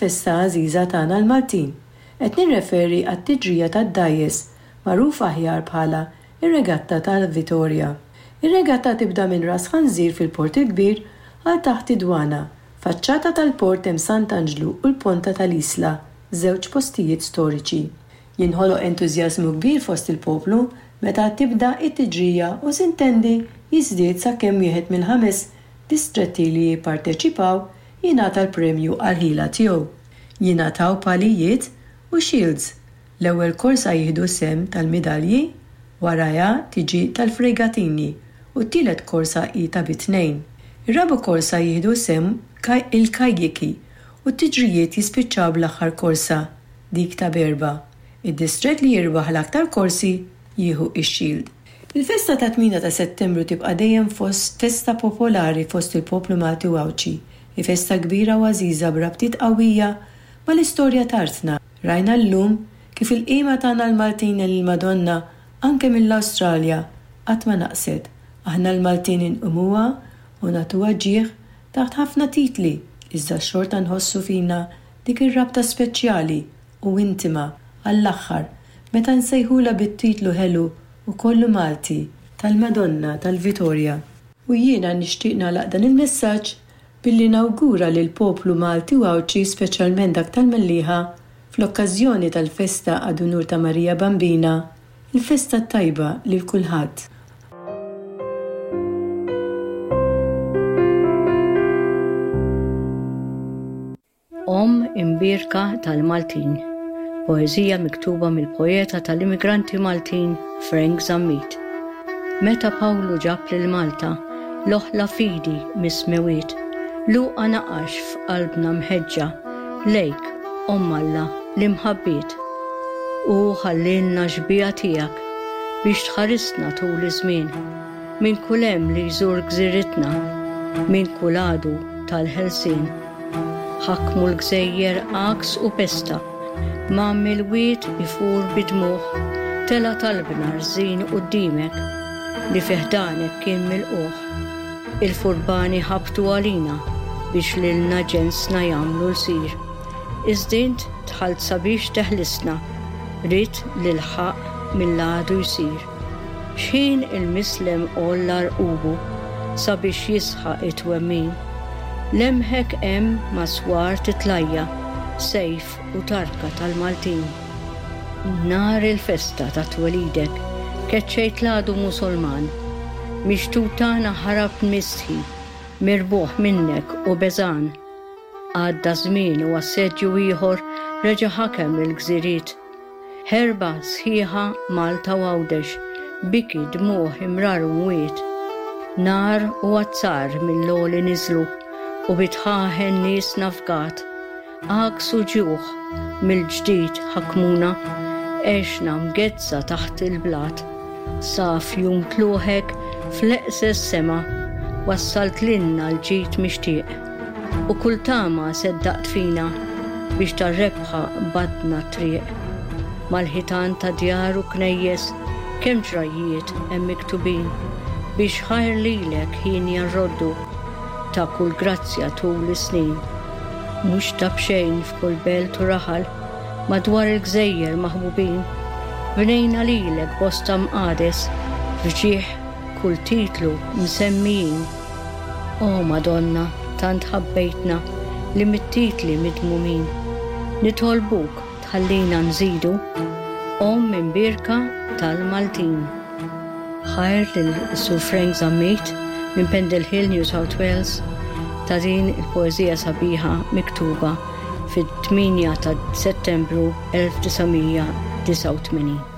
Festa għażiża tagħna l-Maltin. Qed nirreferi għat-tiġrija tad-dgħajjes, magħruf aħjar bħala r-Regatta tal-Vitorja. Ir-regatta tibda minn Ras Ħanżir fil-Port il-Kbir għal taħt id-Dwana. Faċċata tal-port hemm Sant' Anġlu u l-Ponta tal-Isla, żewġ postijiet storiċi. Jinħoloq entużjażmu kbir fost il-poplu meta tibda t-tiġrija u sintendi jiżdied sakemm wieħed mill-ħames distretti li jipparteċipaw jingħata l-premju għall-ħila tiegħu. Jingħataw palijiet u shields. L-ewwel korsa jieħdu sehem tal-midalji, warajha tiġi tal-fregatini u t-tielet korsa hi ta' bi tnejn. Ir-raba' korsa jieħdu sehem il-kajjiki u t-tiġrijiet jispiċċaw bl-aħħar korsa, dik ta' b'erbgħa. Id-distrett li jirbaħ l-aktar korsi jieħu x-shield. Il-festa tat-tmiena ta' Settembru tibqa' dejjem fost festa popolari fost il-poplu Malti u Għawdxi. Hi festa kbira u għażiża b'rabtiet qawwija mal-istorja t'artna. Rajna llum kif il-qima tagħna l-Maltin lill-Madonna anke mill-Awstralja qatt ma naqset. Aħna l-Maltin inqimuha u nagħtuha ġieħ taħt ħafna titli iżda xorta nħossu fina dik ir-rabta speċjali u intima għall-aħħar meta nsejħulha bit-titlu ħelu u kollu Malti tal-Madonna tal-Vitorja. U jiena nixtieq nagħlaq dan il-messaġġ billi nawgura lill-poplu Malti u Għawdxi speċjalment dak tal-Mellieħa fl-okkażjoni tal-festa ad unur ta' Marija Bambina, il-festa t-tajba lil kulħadd. Omm Imbierka tal-Maltin, poeżija miktuba mill-poeta tal-immigranti Maltin Frank Zammit. Meta Pawlu ġab lil Malta l-oħla fidi mis-smewwiet, Luqa naqax f'qalbna mħeġġa lejk, Omm Alla, l-imħabbiet. Hu ħallielna xbieha tiegħek biex tħarisna tul iż-żmien minn kull hemm li jżur gżiritna, minn kull għadu tal-ħelsien. Ħakmu l-gżejjer għaks u pesta, Mgħammi l-wied ifur bid-dmugħ, Tela' talbna rżin quddiemek, Li fi ħdanek kien milqugħ. Il-furbani ħabtu għalina, Biex lilna ġensna jagħmlu lsir. Iżda int dħalt sabiex teħlisna, Ridt li l-ħaqq mill-għadu jsir. X'ħin il-mislem għolla rqubu sabiex jisħaq it-twemmin, lemħek hemm ma' swar titlajja, sejf u tarka tal-Maltin. Nhar il-festa ta' twelidek keċċejt l-għadu Musulman, mix-xtut tagħna ħarab mistħi, mirbuħ minnek u beżgħan. Għadda żmien u assedju ieħor reġa' ħakem il-gżiriet. Ħerba sħiħa Malta u Għawdex, biki, dmugħ, imrar u mwiet. Nar u azzar mill-għoli niżlu u bi dħaħen niesna fgat. Għaks u ġuħ mill-ġdid ħakmuna, għexna mgeddsa taħt il-blat. Sa f'jum tlugħek fl-eqses sema wassalt lilna l-ġid mixtieq. U kull tama seddaqt fina biex tar-rebħa qbadna t-triq. Mal-ħitan ta' djar u knejjes kemm ġrajjiet hemm miktubin biex ħajr lilek hienja rroddu ta' kull grazzja tul is-snin. Mhux ta' b'xejn f'kull belt u raħal madwar il-gżejjer maħbubin bnejna lilek bosta mqades f'ġieħ kull titlu msemmijin. O Madonna, tant ħabbejtna li mit-titli midmumin, nitolbuk tħallina nżidu, Omm Imbierka tal-Maltin. Ħajr lil Sur Frank Zammit minn Pendle Hill, New South Wales, ta' din il-poeżija sabiħa miktuba fit-8 ta' Settembru 1989.